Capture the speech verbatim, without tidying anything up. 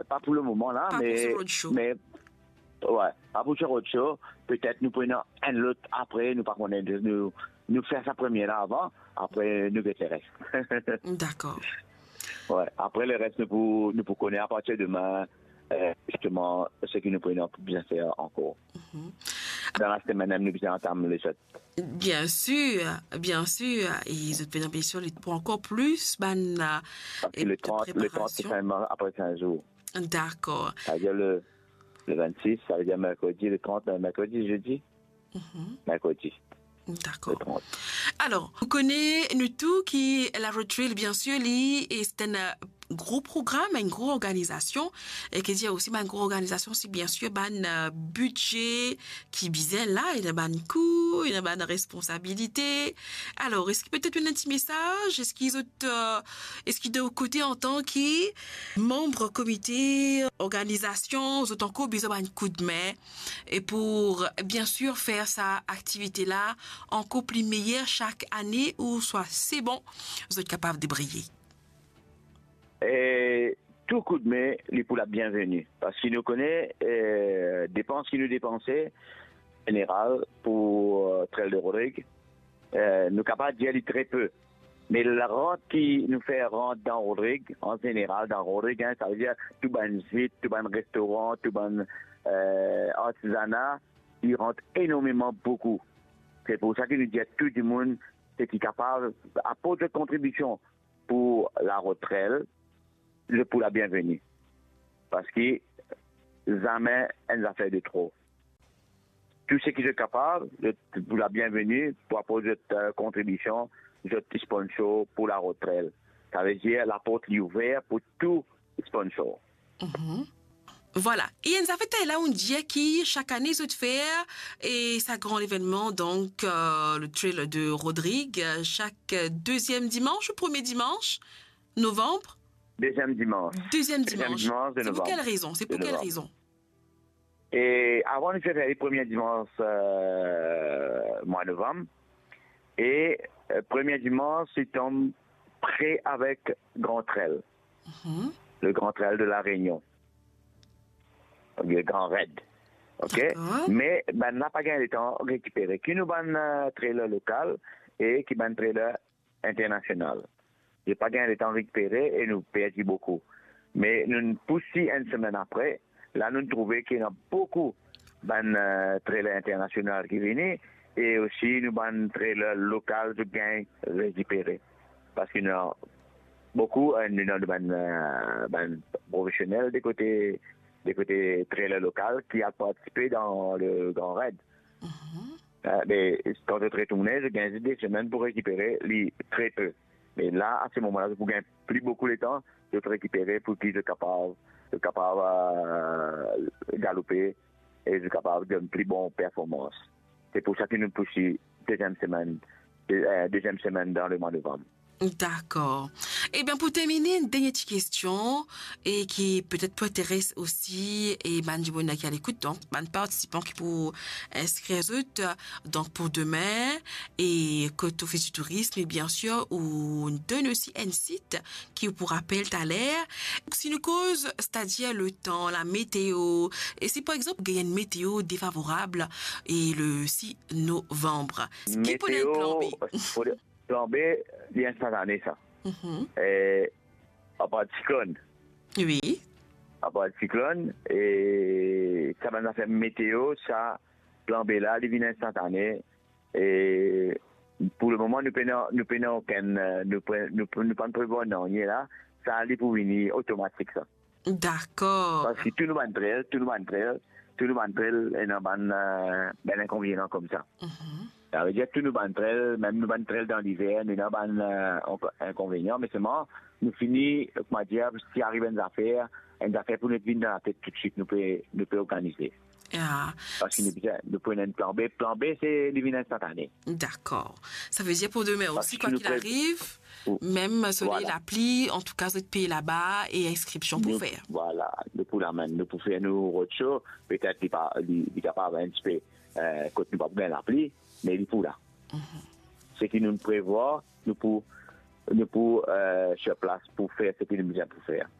Pa pou lemoman la, me, me, wi, pa pou so roadshow. Petet nou pou ena enn lot apre, nou pa kone, nou, nou fer sa premie la avan, apre nou get leres. Dakor. Wi, apre leres nou pou, nou pou kone apartir demin, eh, zisteman, seki nou pou ena pou bizin fer ankor. Mhm. Dan lasemenn mem, nou bizin antam lezot. Biensir, biensir. E zot bizin, biensir, li pou ankor plis bann, eh, preparasyon. Paski le trant, le trant, se fin, apre kinz zour. Dakor. Savedir le, le vennsis, savedir merkredi, le trant, merkredi, zedi. Mhm. Merkredi. Dakor. Le trant. Alor, nou kone nou tou ki La Road Trail, biensir, li, e se enn, eh, gro program, enn gro organizasion, e ki dir osi, bann gro organizasion, se biensir bann, eh, bidze ki bizin la, ena bann kou, ena bann responsabilite. Alor, eski petet ena enn ti mesaz? Eski zot, eh, eski de kote, antan ki manm komite organizasion, zot ankor bizin bann koudme, e pou, biensir, fer sa aktivite la ankor pli meyer sak ane, ouswa se bon, zot kapav debriye? E tou koudme, li pou la bienveni. Paski nou kone, eh, depans ki nou depanse, zeneral, pou, eh, Trail de Rodrigues, eh, nou kapav dir li tre pe. Me larant ki nou fer rant dan Rodrigues, an zeneral dan Rodrigues, hein, savedir tou bann zit, tou bann restoran, tou bann, eh, artizana, li rant enormeman boukou. Se pou sa ki nou dir tou dimoun, seki kapav aport zot kontribision pou La Road Trail, zot pou la bienveni. Paski zame enn zafer de tro. Tou seki zot kapav, zot pou la bienveni pou aport zot, eh, kontribision, zot sponsor pou La Road Trail. Savedir laport li ouver pou tou sponsor. Mhm. Vwala. E enn zafer talè la, ou dir ki sak ane zot fer, e sa gran levennman, donk, eh, le Trail de Rodrigues, eh, sak, eh, deziem dimans ou premie dimans novanm? Deziem dimans. Deziem dimans. Deziem dimans de novanm. Se pou kel rezon? Se pou kel rezon? E avan, nou ti fer li premie dimans, eh, mwa novanm. E, eh, premie dimans, li tonm pre avek Grand Trail. Mhm. Le Grand Trail de La Réunion. Le Grand Raid. Ok? Dakor. Me bann la pa gagn letan rekipere. Ki nou bann, eh, trailer lokal e ki bann trailer internasional. Zot pa gagn letan rekipere e nou perdi boukou. Me nou pousi enn semenn apre, la nou trouve ki ena boukou bann, eh, trailer internasional ki vini, e osi nou bann trailer lokal zot gagn rekipere. Paski nou ena boukou, eh, nou ena bann, eh, bann profesionel de kote, de kote trailer lokal ki al partisipe dan le Grand Raid. Mhm. Eh, me kan zot retourne, zot gagn zis de semenn pou rekipere li tre pe. Me la, a se moman la, zot pou gagn pli boukou letan, zot rekipere pou ki zot kapav, zot kapav, eh, galoupe e zot kapav donn pli bon performans. Se pou sa ki nou pousi deziem semenn, de-, eh, deziem semenn dan le mwa novanm. Dakor. Ebien, pou termine, enn dernie ti kestion, e ki petet pou interes osi, e bann dimoun ki a lekout, donk, bann partisipan ki pou inskrir zot, donk, pou demin, e kot Ofis di Tourism, e biensir, ou donn osi enn sit ki ou pou rapel taler. Si nou koz, setadir letan, lameteo, e si, par exanp, gagn enn meteo defavorab, e le sis novanm, ki pou ena plan B? Meteo, pou plan B, li instantane sa. Mhm. E, apar siklonn. Wi. Apar siklonn, e sa bann zafer meteo, sa plan B la, li vinn instantane. E pou le moman, nou pena, nou pena okenn, nou pe-, nou, nou pa prevwar nanye la. Sa, li pou vini otomatik, sa. Dakor. Paski tou nou bann trail, tou nou bann trail, tou nou bann trail, ena bann, eh, bann inkonvenian koumsa. Mhm. Savedir tou nou bann trail, mem nou bann trail dan liver, nou ena bann, eh, inko-, inkonvenian, me selman, nou fini, koumadir, si ariv enn zafer, enn zafer pou nou vinn dan latet toutswit, nou pe, nou pe organize. Ya. Paski nou bizin, nou pou ena enn plan B. Plan B, se li vinn instantane. Dakor. Savedir pou demin osi, kwa ki ariv, mem soley, lapli, antouka, zot pe laba e inskripsion pou fer. Vwala, nou pou lamenn, nou pou fer nou roadshow, petet li pa, li, li kapav enn tipe, eh, kot nou pa pou gagn lapli, me li pou la. Mhm. Seki nou prevwar, nou pou, nou pou, eh, sir plas pou fer seki nou bizin pou fer.